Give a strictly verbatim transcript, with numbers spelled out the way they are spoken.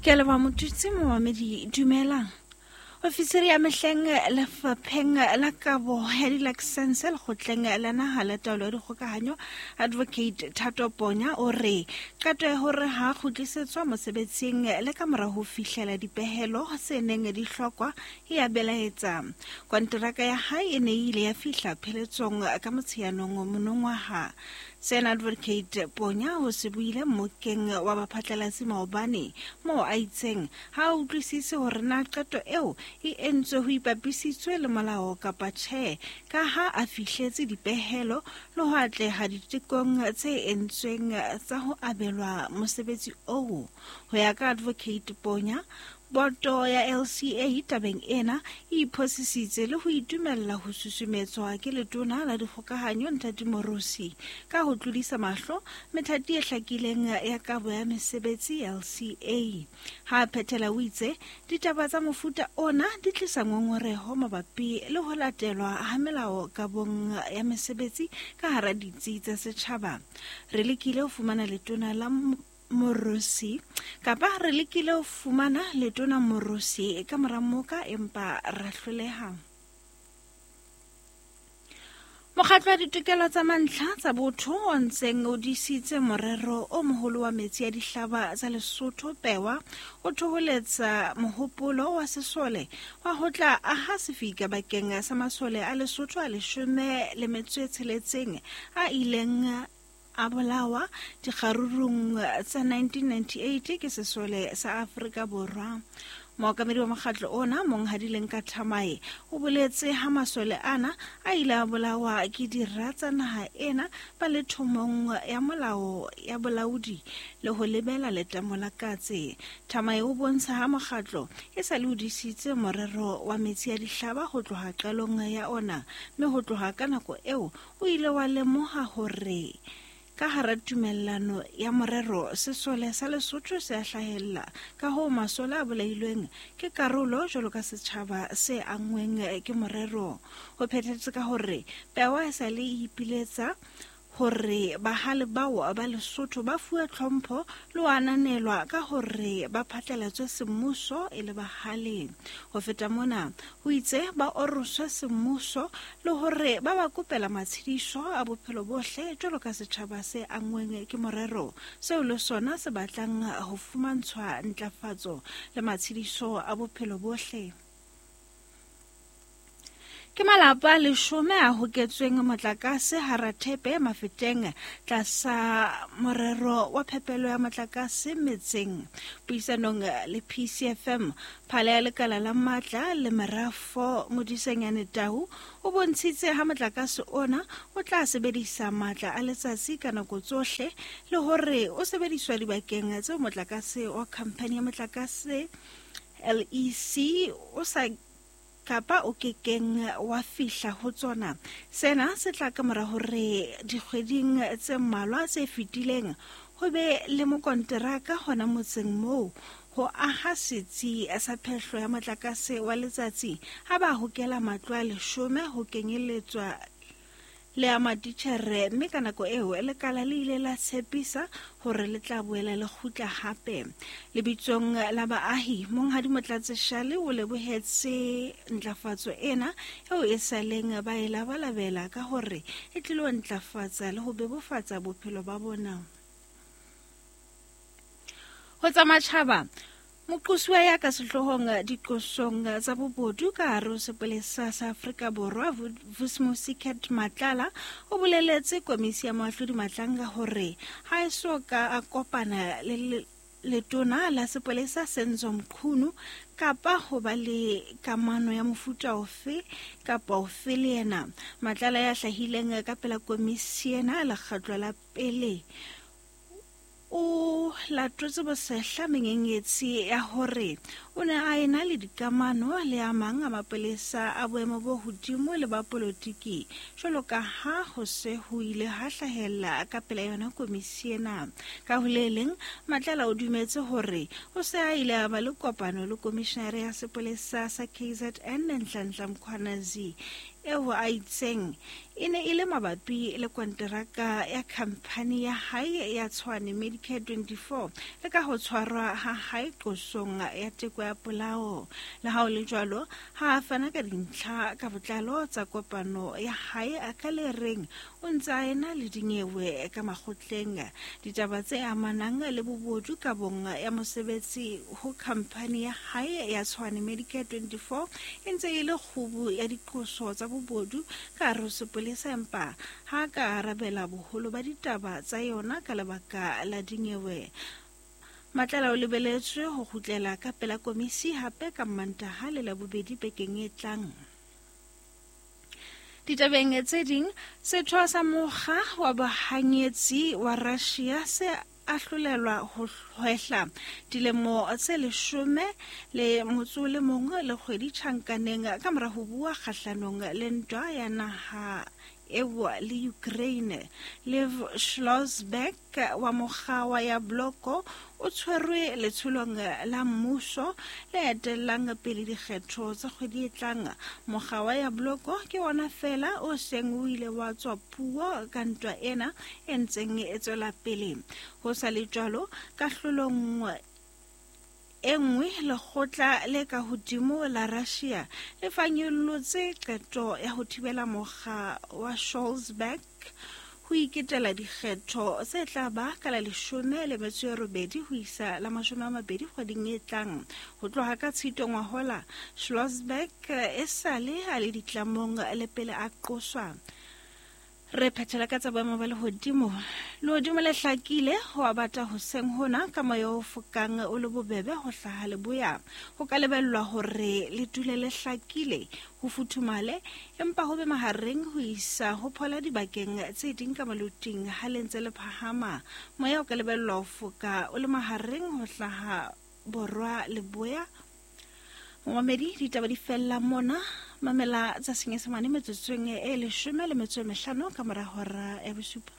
Ke a leboha Motutsi momamedi, dumelang. Ofisiri ya mehleng lefapheng la kabo ya dilakesense lekgotleng la naha la taolo ya dikgokahanyo Advocate Thato Ponya o re qeto ya hore ha kgutlisetswa mosebetsing le ka mora ho fihlela dipehelo tse neng di hlokwa e ya belaetsa. Konteraka ya hae e ne e ile ya fihla pheletsong ka Motsheanong monongwaha. Sena Advocate Ponya o se buile mmokeng wa baphatlalatsi maobane moo a itseng ha a utlwisise hore na qeto eo e entswe ho ipapisitswe le molao kapa tjhe, ka ha a fihletse dipehelo le ho atleha ditekong tse entsweng tsa ho abelwa mosebetsi oo. Ho ya ka Advocate Ponya, boto ya L C A tabeng ena e iphosisitse le ho itumella ho susumetswa ke letona la dikgokahanyo Nthati Morusi ka ho tlodisa mahlo methati e hlakileng ya kabo ya mesebetsi L C A. Ha a phethela o itse ditaba tsa mofuta ona di tlisa ngongoreho mabapi le ho latelwa ha melao kabong ya mesebetsi ka hara ditsi tsa setjhaba. Re lekile ho fumana letona la Morusi kapa re lekile ho fumana letona Morusi ka mora moka empa ra hloleha. Mokgatlo wa ditokelo tsa mantlha tsa botho o ntseng o disitse morero o moholo wa metsi a dihlaba tsa Lesotho Pewa o thoholetsa mohopolo wa sesole wa ho tla aha sefika bakeng sa masole a Lesotho a leshome le metso e tsheletseng a ileng a bolawa dikgarurung tsa nineteen ninety-eight ke sesole sa Afrika Borwa. Mookamedi wa mokgatlo ona Monghadi Lenka Thamae o boletse ha masole ana a ile a bolawa ke dira tsa naha ena ba le thomong ya molao ya bolaodi le ho lebela letamo la katse. Thamae o bontsha ha mokgatlo e sa le o disitse morero wa metsi a dihlaba ho tloha qalong ya ona, mme ho tloha ka nako eo o ile wa lemoha hore ka hara tumellano ya morero sesole sa Lesotho se a hlahella, ka hoo masole a bolailweng ke karolo jwalo ka setjhaba se anngweng ke morero. Ho phethetse ka hore Pewa e sa le ipiletsa hore bahale bao ba Lesotho ba fuwe tlhompho le ho ananelwa ka hore ba phatlalatswe semmuso e le bahale. Ho feta mona, ho itse ba oroswe semmuso le hore ba ba kopela matshediso a bophelo bohle jwalo ka setjhaba se anngweng ke morero, seo le sona se batlang ho fumantshwa ntlafatso le matshediso a bophelo bohle. Ke malapa a leshome a hoketsweng motlakase hara Thepe Mafeteng tlasa morero wa phepelo ya motlakase metseng. Puisanong le P C F M, phala ya lekala la matla le merafo Modisenyane Tau o bontshitse ha motlakase ona o tla sebedisa matla a letsatsi ka nako tsohle le hore o sebediswa dibakeng tseo motlakase wa khamphani ya motlakase L E C o sa kapa o kekeng wa fihla ho tsona. Sena se tla ka mora hore dikgweding tse mmalwa tse fetileng ho be le mokonteraka hona motseng moo ho aha setsi sa phehlo ya motlakase wa letsatsi ha ba hokela matlo a leshome ho kenyelletswa le a matitjhere, mme ka nako eo lekala le ile la tshepisa hore le tla boela le kgutla hape. Lebitsong la baahi, Monghadi Motlatse Shale o lebohetse ntlafatso ena eo e saleng ba e labalabela ka hore e tlilo ntlafatsa le ho bebofatsa bophelo ba bona. Ho tsa matjhaba, moqosuwa ya ka sehloohong diqosong tsa bobodu ka hare ho sepolesa sa Afrika Borwa Vusimusi Cat Matlala o boleletse komisi ya moahlodi Matlanga hore ha e so ka a kopana le letona la sepolesa Senzo Mchunu kapa ho ba le kamano ya mofuta ofe kapa ofe le yena. Matlala ya hlahileng ka pela komisi ena lekgetlo la pele o latotse bosehla menyenyetsi ya hore o ne a ena le dikamano le a mang a mapolesa a boemo bo hodimo le ba polotiki jwalo ka ha ho se ho ile ha hlahella ka pela yona komisi ena. Ka ho le leng, Matlala o dumetse hore o se a ile a ba le kopano le komishinare ya sepolesa sa K Z N Nhlanhla Mkhwanazi eo a itseng e ne e le mabapi le konteraka ya khamphani ya hae ya Tshwane Medicare twenty-four le ka ho tshwarwa ha hae qosong ya teko ya polao. Le ha ho le jwalo, ha a fana ka dintlha ka botlalo tsa kopano ya hae a ka le reng o ntse a ena le dinyewe ka makgotleng. Ditaba tse amanang le bobodu kabong ya mosebetsi ho khamphani ya hae ya Tshwane Medicare twenty-four e ntse e le kgubu ya diqoso tsa bobodu ka hare ho sepolesa, empa ha ka arabela boholo ba ditaba tsa yona ka lebaka la dinyewe. Matlala o lebeletswe ho kgutlela ka pela komisi hape ka Mantaha le Labobedi bekeng e tlang. Ditabeng tse ding, setho sa mokga wa bahanyetsi wa Russia se ahlolelwa ho hwehla dilemo tse leshome le motso o le mong le kgwedi tjhankaneng ka mora ho bua kgahlanong le ntwa ya naha eo le Ukraine. Lev Schlosberg wa mokga wa ya Bloko o tshwerwe letsholong la mmuso le etellang pele dikgetho tsa kgwedi e tlang. Mokga wa ya Bloko ke wona fela o seng o ile wa tswa puo ka ntwa ena e ntseng e tswela pele. Ho sa le jwalo, kahlolong e nngwe, lekgotla le ka hodimo la Russia le fanyollotse qeto ya ho thibela mokga wa Scholzberg ho iketela dikgetho tse tla ba ka la leshome le metso e robedi ho isa la mashome a mabedi kgweding e tlang. Ho tloha ka Tshitwe ngwahola, Schlosberg e sale a le ditlamong le pele a qoswa. Re phethela ka tsa boemo ba lehodimo. Lehodimo le hlakile ho a bata hoseng hona ka moya o fokang o le bobebe ho hlaha leboya. Ho ka lebellwa hore le dule le hlakile, ho futhumale, empa ho be mahareng ho isa ho phola dibakeng tse ding ka maloting ha le ntse le phahama. Moya o ka lebellwa ho foka o le mahareng ho hlaha borwa leboya. Momamedi, ditaba di fella mona. Mamela tsa Senyesemane metsotsong e leshome le metso e mehlano ka mora hora ya bosupa.